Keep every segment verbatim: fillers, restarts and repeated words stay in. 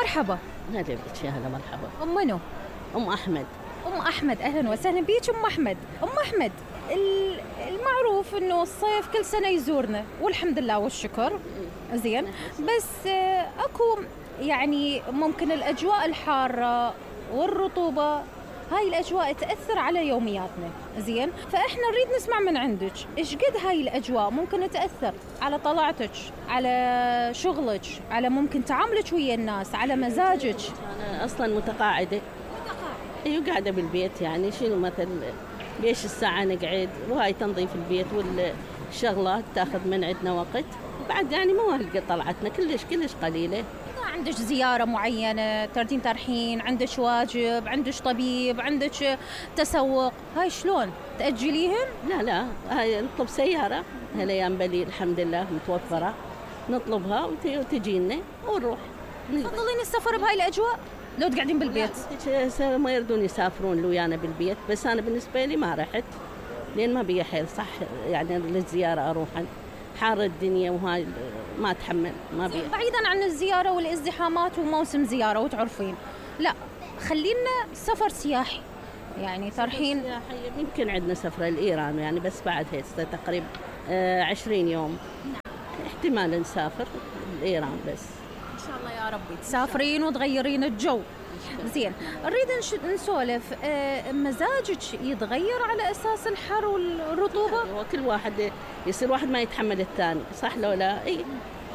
مرحبا. هلا بك يا هلا مرحبا. أم منو؟ أم أحمد. أم أحمد أهلا وسهلا بيك أم أحمد. أم أحمد المعروف إنه الصيف كل سنة يزورنا والحمد لله والشكر زين، بس أكو يعني ممكن الأجواء الحارة والرطوبة هاي الأجواء تأثر على يومياتنا زين، فإحنا نريد نسمع من عندك إيش قد هاي الأجواء ممكن تأثر على طلعتك، على شغلك، على ممكن تعاملك ويا الناس، على مزاجك. أنا أصلا متقاعدة. أيوة قاعدة بالبيت، يعني شنو مثل بيش الساعة نقعد، وهاي تنظيف البيت والشغلات تاخذ من عندنا وقت، بعد يعني مو هالقد طلعتنا كلش كلش قليلة. إذا عندك زيارة معينة تردين ترحين، عندك واجب، عندك طبيب، عندك تسوق، هاي شلون تأجليهن؟ لا لا هاي نطلب سيارة هالأيام بلي الحمد لله متوفرة، نطلبها وتجينا ونروح. تفضلين السفر بهاي الأجواء لو تقعدين بالبيت؟ ما يردون يسافرون لويانا بالبيت، بس أنا بالنسبة لي ما رحت لأن ما بي حيل صح، يعني للزيارة أروح حار الدنيا وهاي ما أتحمل ما بي. بعيدا عن الزيارة والازدحامات وموسم زيارة وتعرفين، لا خلينا سفر سياحي يعني ترحين. يمكن عندنا سفرة لإيران يعني، بس بعد هسه تقريبا عشرين يوم احتمال نسافر لإيران، بس إن شاء الله يا ربي تسافرين وتغيرين الجو. زين نريد نسولف، مزاجك يتغير على أساس الحر والرطوبة؟ وكل واحد يصير واحد ما يتحمل الثاني، صح لو لا؟ اي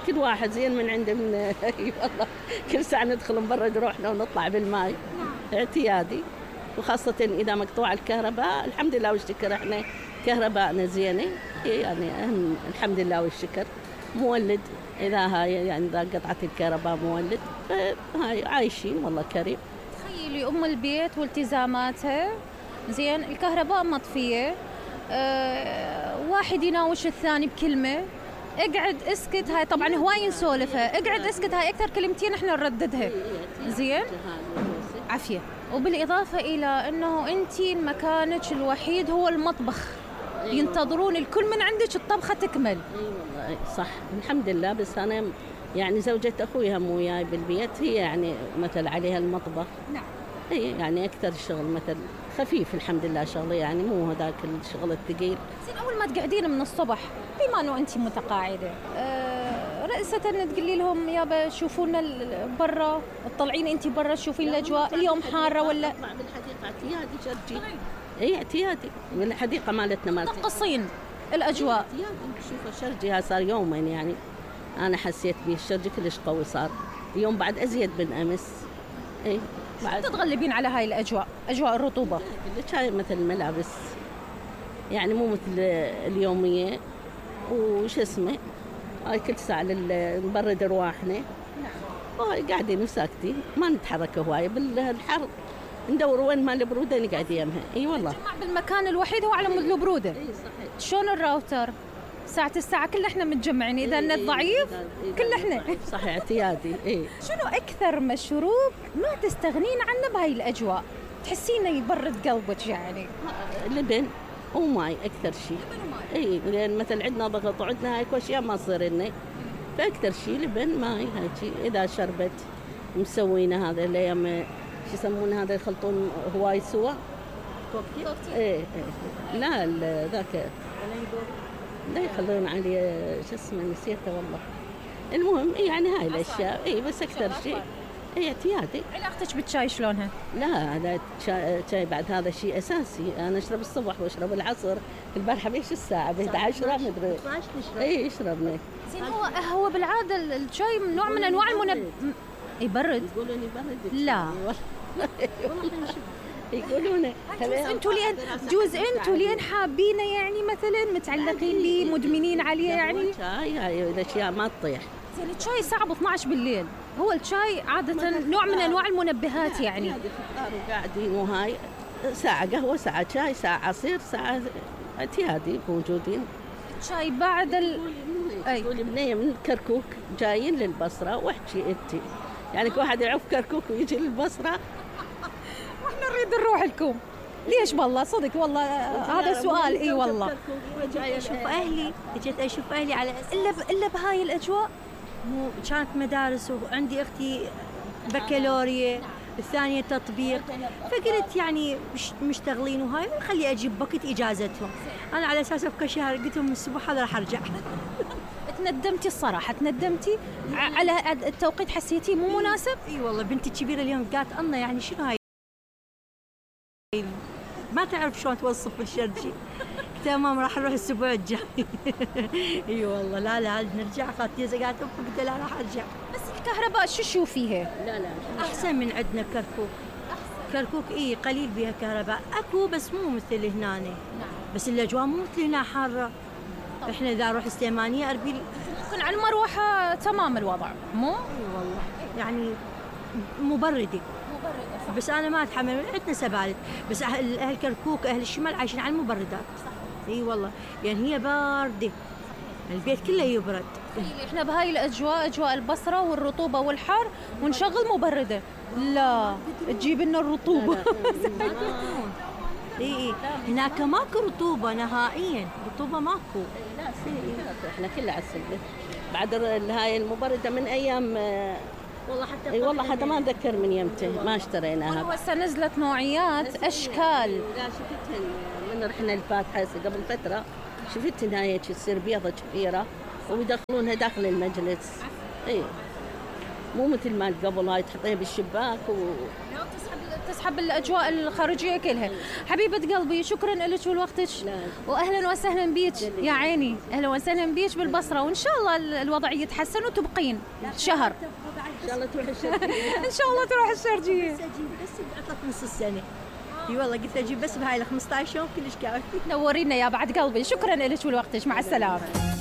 كل واحد زين من عنده من اي والله كل ساعة ندخل نبرد روحنا ونطلع بالماء اعتيادي، وخاصة إذا مقطوع الكهرباء. الحمد لله والشكر احنا كهرباءنا زينة يعني، أهم الحمد لله والشكر. مولد إذا هاي يعني إذا قطعت الكهرباء مولد، فهاي عايشين والله كريم. تخيلي أم البيت والتزاماتها زين، الكهرباء مطفية، أه واحد يناوش الثاني بكلمة، اقعد اسكت، هاي طبعا هواي نسولفها، اقعد اسكت، هاي أكثر كلمتين احنا نرددها زين عافية. وبالإضافة إلى أنه أنتي مكانك الوحيد هو المطبخ، ينتظرون الكل من عندك الطبخة تكمل. اي والله صح الحمد لله، بس أنا يعني زوجة أخوي هم وياي بالبيت، هي يعني مثل عليها المطبخ. نعم. اي يعني أكثر الشغل مثل خفيف الحمد لله شغله، يعني مو هذاك الشغل الثقيل. زين أول ما تقعدين من الصبح بما أنه أنت متقاعدة، أه رئيسة تقولي لهم يابا شوفونا برا، تطلعين أنت برا تشوفين الأجواء اليوم حارة ولا؟ أطلع بالحديقة اعتيادي شرجي. اي اعتيادي بالحديقة مالتنا مالتنا تقصين الأجواء. اعتيادي شوفوا شرجي صار يومين يعني، أنا حسيت به الشرجي كلش قوي صار اليوم بعد أزيد من أمس. اي بعد تتغلبين على هاي الأجواء، أجواء الرطوبة؟ هاي مثل الملابس يعني مو مثل اليومية وش اسمه، هاي كل ساعة نبرد رواحنا قاعدين وساكتين ما نتحرك هواية. بالحر ندور وين ما البرودة نقعد يمها. اي والله بالمكان الوحيد هو على مود البرودة. اي صحيح. شلون الراوتر ساعة الساعة كل احنا متجمعين، إذا النت ضعيف كل احنا صح اعتيادي. اي شنو أكثر مشروب ما تستغنين عنه بهاي الأجواء تحسينه يبرد قلبك؟ يعني لبن وماي أكثر شيء. اي لأن مثل عندنا ضغط وعندنا هاي أشياء ما تصير لنا، فأكثر شيء لبن ماي هاي شيء. إذا شربت مسوينا هذا اللي يم شو يسمونه هذا يخلطون هواي سوا كوكتيل. ايه ايه لا ذاك لا يخلون عليه شو اسمه نسيته والله. المهم يعني هاي الاشياء اي، بس اكثر شيء اي اعتيادي. علاقتك بالشاي شلونها؟ لا هذا شاي بعد هذا شيء اساسي، انا اشرب الصبح واشرب العصر. البارحه بيش الساعه احد عشر ما ادري اي يشربنا. زين هو هو بالعاده الشاي نوع من انواع المنبه يبرد. يقولون يبرد. لا يقولون انتوا لين جوز انتوا لين حابينه يعني مثلا متعلقين به مدمنين عليه يعني. شاي هاي الاشياء ما تطيح. زين الشاي الساعه اثنعش عشر بالليل، هو الشاي عاده نوع من انواع المنبهات يعني. وقاعدين وهاي ساعه قهوه ساعه شاي ساعه عصير ساعه اعتيادي موجودين. الشاي بعد ال اي تقولي بنيه من كركوك جايين للبصره واحكي انت يعني كل واحد يعرف كركوك ويجي للبصره واحنا نريد نروح لكم. ليش والله صدق والله هذا سؤال. اي والله اشوف اهلي، جيت اشوف اهلي على الا الا بهاي الاجواء. مو كانت مدارس وعندي اختي بكالوريا، الثانية تطبيق. فقلت يعني مش مشتغلين وهاي، خلي أجيب وقت إجازتهم. أنا على أساس أبقى شهر، قلت لهم الأسبوع هذا راح أرجع. تندمتي الصراحة، تندمتي على التوقيت، حسيتيه مو مناسب؟ اي والله بنتي الكبيرة اليوم قالت أنا يعني شنو هاي، ما تعرف شلون توصف الشرجي. تمام راح نروح الأسبوع الجاي. اي والله لا لا نرجع. خالتي قالت قلت لا راح أرجع. بس الكهرباء شو تشوفيها؟ لا لا أحسن من عندنا كركوك. كركوك اي قليل بها كهرباء، اكو بس مو مثل هنا. نعم. بس الأجواء مو مثل هنا حارة. احنا إذا نروح السليمانية أربيل يكون على المروحة تمام الوضع، مو؟ اي والله يعني مبردة. بس أنا ما أتحمل، عندنا سبالت، بس أهل أهل كركوك أهل الشمال عايشين على المبردات. اي والله يعني هي باردة، البيت كله يبرد. احنا بهاي الأجواء، أجواء البصرة والرطوبة والحر، ونشغل مبردة، لا تجيب لنا الرطوبة. اي اي هناك ماكو رطوبة نهائيا، رطوبة ماكو. لا احنا كلها على السلة بعد هاي المبردة من أيام. والله حتى اي والله حتى ما اتذكر من يمته ما اشتريناها. هسه نزلت نوعيات اشكال. لا شفتهن من رحنا الفاتحه قبل فتره، شفتهن هاي تصير بيضه كبيره ويدخلونها داخل المجلس. اي مو مثل ما قبل هاي تحطيها بالشباك و تسحب تسحب الاجواء الخارجيه كلها. حبيبه قلبي شكرا لك ولوقتك، واهلا وسهلا بيك يا عيني، اهلا وسهلا بيك بالبصره، وان شاء الله الوضع يتحسن وتبقين شهر. ان شاء الله تروح الشرقيه. ان شاء الله تروح الشرقيه. بس اجيب بس بعطلة نص السنه. اي والله قلت اجيب بس بهاي ال خمسة عشر يوم كلش كافي. نورينا يا بعد قلبي، شكرا لك ولوقتك، مع السلامه.